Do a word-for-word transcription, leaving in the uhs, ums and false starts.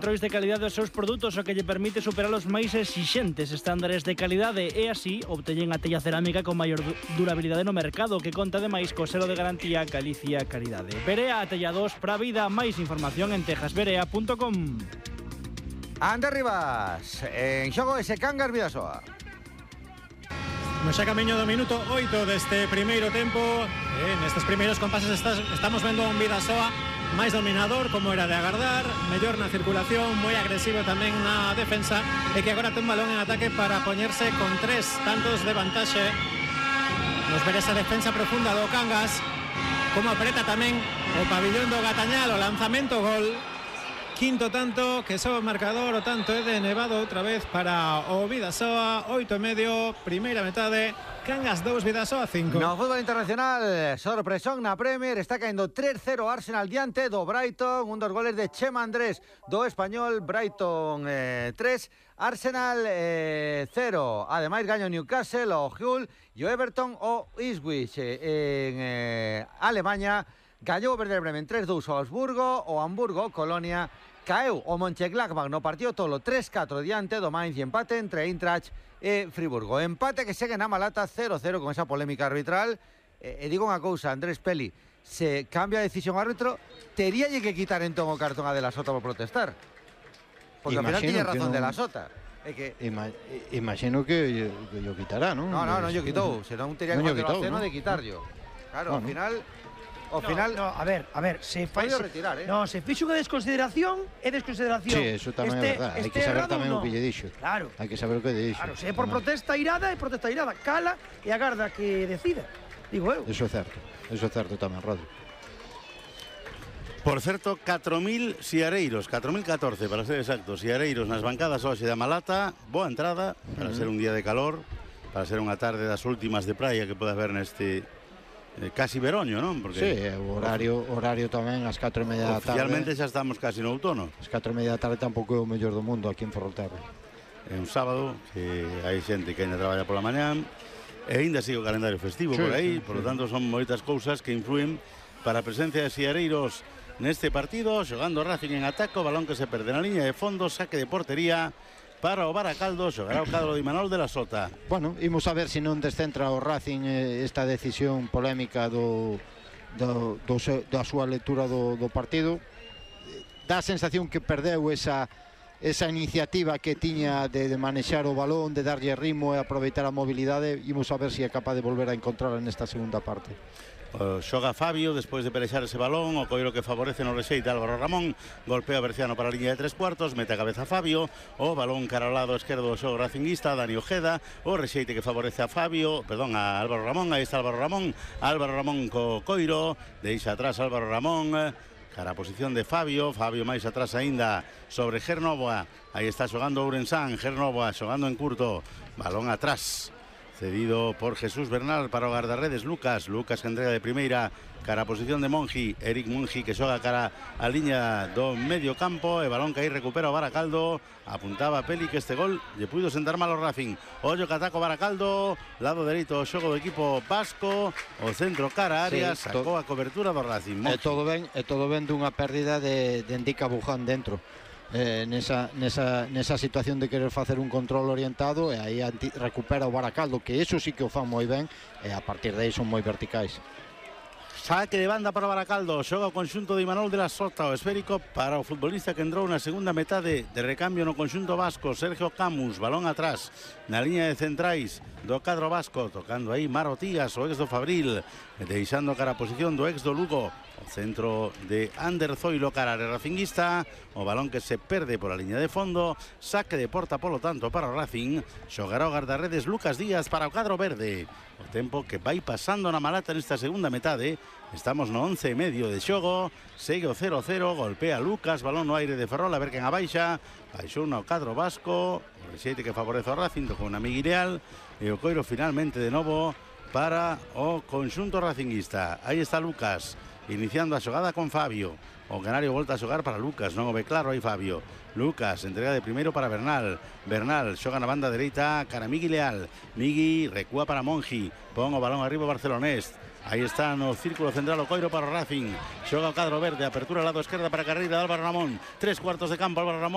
Controis de calidade dos seus produtos, o que lle permite superar os máis exixentes estándares de calidade e así obtellen a tella cerámica con maior durabilidade no mercado, que conta ademais co selo de garantía Galicia Calidade. Berea, tellados pra vida. Máis información en texas berea punto com. Ander Rivas, en xogo ese Cangas Vidasoa. No xa camiño do minuto oito deste primeiro tempo. eh, Nestes primeiros compases estamos vendo un Vidasoa máis dominador, como era de agardar, mellor na circulación, moi agresivo tamén na defensa, e que agora ten un balón en ataque para poñerse con tres tantos de vantaxe. Nos ver esa defensa profunda do Cangas, como apreta tamén o pabillón do Gatañal, o lanzamento, gol. Quinto tanto, que sobe o marcador, o tanto é de Nevado outra vez para o Vidasoa, oito e medio, primeira metade, Cangas dous, Vidasoa cinco. No fútbol internacional, sorpresón na Premier, está caendo tres cero Arsenal diante do Brighton, un dos goles de Chema Andrés do español. Brighton eh, tres, Arsenal eh, cero. Ademais gaño Newcastle, o Hull e o Everton o Ipswich eh, en eh, Alemanha. Gañou o Werder Bremen tres dous ao Augsburgo, o Hamburgo, Colonia. Caeu o Mönchengladbach no partido tolo tres catro diante do Mainz e empate entre Eintracht e Friburgo. Empate que segue na Malata cero cero con esa polémica arbitral. E, e digo unha cousa, Andrés Peli, se cambia a decisión árbitro, teríalle que quitar entón o cartón a De La Sota por protestar. Porque ao final tiña razón no... De La Sota. É que... Ima... Imagino que yo quitará, non? No, no, non yo quitou. Senón tería que facer o aceno de quitar yo. Claro, ao bueno. final... Ao no, final... No, a ver, a ver, se fai... Pode retirar, eh? No, se fixo unha desconsideración, é desconsideración. Sí, eso tamén este, é verdad. Hai que saber tamén no. o que lle dixo. Claro. Hai que saber o que lle dixo. Claro, se é por protesta irada, é protesta irada. Cala e agarda que decida. Digo eu. Eso é certo. Eso é certo tamén, Rodri. Por certo, catro mil siareiros, catro mil catorce para ser exactos, siareiros nas bancadas hoxe da Malata. Boa entrada para uh -huh. ser un día de calor, para ser unha tarde das últimas de praia que podes ver neste eh, casi veroño, non? Porque sí, o horario, horario tamén ás catro e media da tarde. Oficialmente xa estamos casi no outono. As catro e media da tarde tampouco é o mellor do mundo aquí en Ferrolterra. É un sábado que hai xente que ainda traballa pola mañá e ainda sigue o calendario festivo sí, por aí, sí, por lo tanto son moitas cousas que influen para a presencia de siareiros neste partido. Xogando Racing en ataque, o balón que se perde na liña de fondo, saque de portería para o Baracaldo, xogará o cadro de Imanol de La Sota. Bueno, imos a ver se non descentra o Racing eh, esta decisión polémica do, do, do da súa lectura do, do partido. Dá a sensación que perdeu esa, esa iniciativa que tiña de, de manexar o balón, de darlle ritmo e aproveitar a mobilidade. Imos a ver se é capaz de volver a encontrarla nesta segunda parte. Uh, xoga Fabio despois de perexar ese balón, o coiro que favorece no rexeite Álvaro Ramón, golpea Berciano para a liña de tres cuartos, mete a cabeza Fabio, o balón cara ao lado esquerdo do xogo racinguista, Dani Ojeda, o rexeite que favorece a Fabio, perdón, a Álvaro Ramón, aí está Álvaro Ramón, Álvaro Ramón co coiro, deixa atrás Álvaro Ramón, cara a posición de Fabio, Fabio máis atrás aínda sobre Gernovoa, aí está xogando Ourensán, Gernovoa xogando en curto, balón atrás, cedido por Jesús Bernal para o guardarredes Lucas, Lucas que entrega de primeira cara a posición de Monji, Eric Monji que xoga cara a liña do medio campo, e balón que aí recupera o Baracaldo, apuntaba Peli que este gol lle puido sentar mal o Racing, ollo que ataca o Baracaldo, lado dereito o xogo do equipo vasco, o centro cara a área, sí, sacou a cobertura do Racing. É todo ben, é todo ben dunha pérdida de, de Endica Buján dentro. Eh, nesa, nesa, nesa situación de querer facer un control orientado, e aí anti, recupera o Baracaldo, que eso sí que o fan moi ben, e a partir de aí son moi verticais. Saque de banda para o Baracaldo, xoga o conxunto de Imanol de La Sota, o esférico para o futbolista que entrou na segunda metade de recambio no conxunto vasco, Sergio Camus, balón atrás na liña de centrais do cadro vasco, tocando aí Maro Tías, o ex do Fabril, deixando cara a posición do ex do Lugo, o centro de Ander Zoilo cara a racinguista, o balón que se perde por a liña de fondo, saque de porta polo tanto para o Racing, xogará o guardarredes Lucas Díaz para o cadro verde. O tempo que vai pasando na Malata nesta segunda metade, estamos no once e medio de xogo, segue o cero cero, golpea Lucas, balón no aire de Ferrol, a ver quen a baixa, baixou no cadro vasco, o rexeite que favorece o Racing, tocou na Miguel e o coiro finalmente de novo para o conxunto racinguista. Aí está Lucas, iniciando a xogada con Fabio. O Canario volta a xogar para Lucas, non o ve claro aí Fabio. Lucas, entrega de primeiro para Bernal. Bernal xoga na banda dereita cara a Migui Leal. Migui recúa para Monji, pon o balón arriba o barcelonés. Aí está no círculo central o Coiro para o Racing. Xoga o cadro verde, apertura ao lado esquerda para a carreira de Álvaro Ramón. Tres cuartos de campo, Álvaro Ramón.